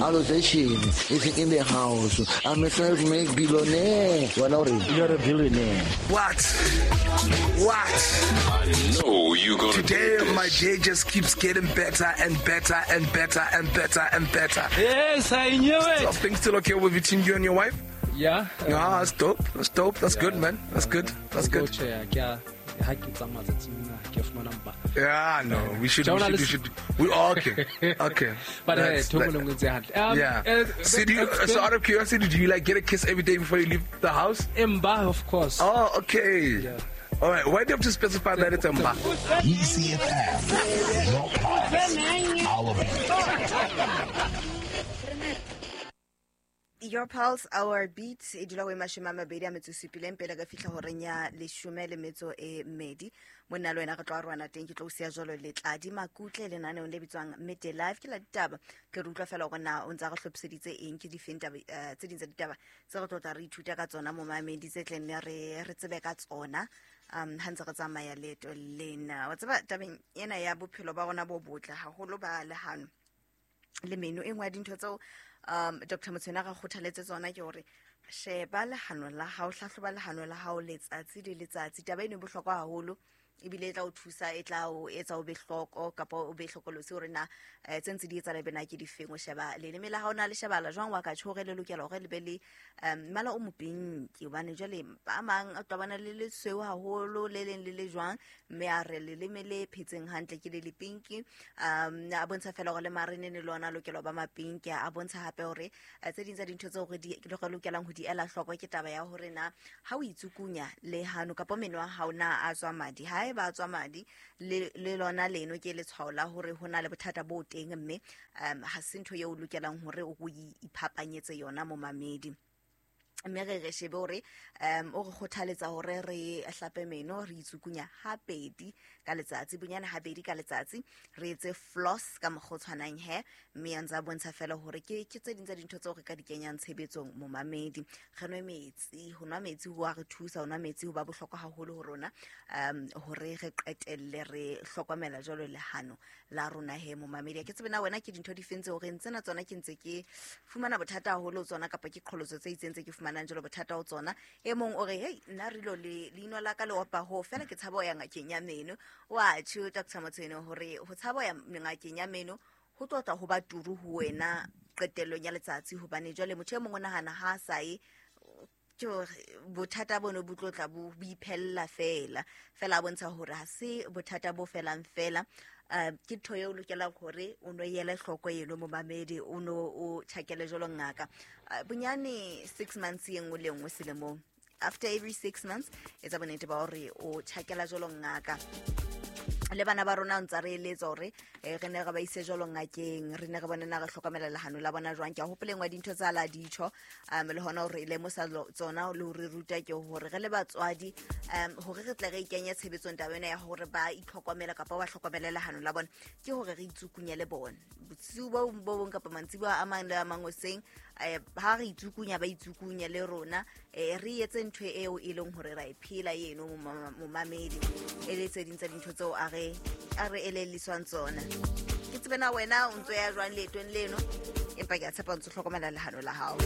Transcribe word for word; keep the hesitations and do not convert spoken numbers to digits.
Allocation is in the house. I'm a self-made billionaire. Wena o reng? You're a billionaire. What? What? I know you gonna Today do this. my day just keeps getting better and better and better and better and better. Yes, I knew So it. things still okay with between you and your wife? Yeah. Yeah, that's dope. That's dope. That's good, man. That's good. That's good. Tjhe, ke a ha ke tsamaya tsatsing lena, ke fumana mpa. Yeah, no, we should, we should, we should. We okay, okay. But hey, That's- thoko that- le nngwe tse hantle. Um, Yeah. eh, So, do you, eh, so out of curiosity, do you like get a kiss every day before you leave the house? Emba, of course. Oh, okay. Yeah. All right. Why do you have to specify that it's a mba? E C F M, your pulse, our beat. Your Pulse, Our Beat e dula go e mashome a mabedi a metso e supileng pele ka fihla horeng ya leshome le metso e mmedi. Monna le wena re tlo arohana teng, ke tlo o siya jwalo Letladi Makutle lenaneong le bitswang Midday Live. Ke la ditaba, ke re utlwa fela hore na o ntsa re hlophiseditse eng, ke difeng taba, eh, tse ding tsa ditaba tse re tlo tla re ithuta ka tsona momamedi, tse tleng ne re re tsebe ka tsona um ha ntse re tsamaya leeto lena. Wa tseba tabeng ena ya bophelo ba rona bo botle haholo ba lehano le meno, e nngwe ya dintho tseo um Doctor Motshwene a re kgothaletse tsona ke hore sheba lehano la hao, hlahloba lehano la hao letsatsi le letsatsi. Taba eno e bohlokwa haholo, ebile e tla o thusa, e tla o etsa o be hloko kapa o be hlokolosi hore na, eh, tse ntse di etsahala ebe na ke difeng. O sheba leleme la hao na le shebala jwang, wa ka tjho hore le lokela hore le be le, um, mmala o mopinki, hobane jwale ba mang a tla bona le lesweu haholo, le leng le le jwang, mme a re leleme le phetseng hantle ke le lepinki. Um, a bontsha fela hore le marenene le ona a lokela ho ba mapinki. A bontsha hape hore, eh, tse ding tsa dintho tseo re di, re lokelang ho di ela hloko ke taba ya hore na ha o itsukunya lehano kapa meno a hao na a tswa madi. Ha eba a tswa madi, le, le lona leno ke letshwao la hore ho na le bothata bo teng, mme, um, ha se ntho eo o lokelang hore o iphapanyetse yona momamedi. Mme re re shebe hore, um, o re kgothaletsa hore re hlape meno, re itsukunya habedi ka letsatsi, bonyane habedi ka letsatsi, re etse floss ka mokgwa o tshwanang he, mme a ntse a bontsha fela hore ke, ke tse ding tsa dintho tseo re ka di kenyang tshebetsong momamedi. Re nwe metsi, ho nwa metsi ho a re thusa, ho nwa metsi ho ba bohlokwa haholo ho rona, um, hore re qetelle re hlokomela jwalo lehano la rona he momamedi. Ha ke tsebe na wena ke dintho di feng tseo re ntsena tsona ke ntse ke fumana bothata haholo ho tsona, kapa ke qholotso tse itseng tse ke fumanang jwalo bothata ho tsona. E mong o re, hei, nna re lo le leino la ka le opa ho fela, ke tshaba ho ya ngakeng ya meno. Wa tjho Doctor Motshwene hore ho tshaba ho ya ngakeng ya meno ho tlo tla ho ba turu ho wena qetellong ya letsatsi, hobane jwale motho e mong o nahana ha a sa ye, ke hore bothata bono bo tlo tla bo iphella fela. Fela a bontsha hore ha se bothata bo felang fela. Uh, ke ntho eo o lokelang hore o no ele hloko eno momamedi, o no o tjhakele jwalo ngaka. Uh, bonyane six months e nngwe le nngwe selemong. After every six months, etsa bonnete ba hore o tjhakela jwalo ngaka. Le bana ba rona ntse re eletsa hore, eh, re ne re ba ise jwalo ngakeng, re ne re bone na re hlokomela lehano la bona jwang. Ke a hopola engwe ya dintho tsa la ditjho, um, le hona hore e lemosa lo-, tsona le hore ruta ke hore re le batswadi, um, hore re tle re ikenye tshebetsong taba ena ya hore ba itlhokomele kapa ba hlokomele lehano la bona, ke hore re itsukunye le bona. Bosiu bo bo bong kapa mantsiboya a mang le a mang hoseng, eh, ha re itsukunya ba itsukunye le rona, eh, re etse ntho eo e leng hore ra e phela eno momamedi. E le tse ding tsa dintho tseo a re, a re elelliswang tsona. Ke tsebe na wena o ntso ya jwang leetong leno, empa ke a tshepa o ntso hlokomela lehano la hao.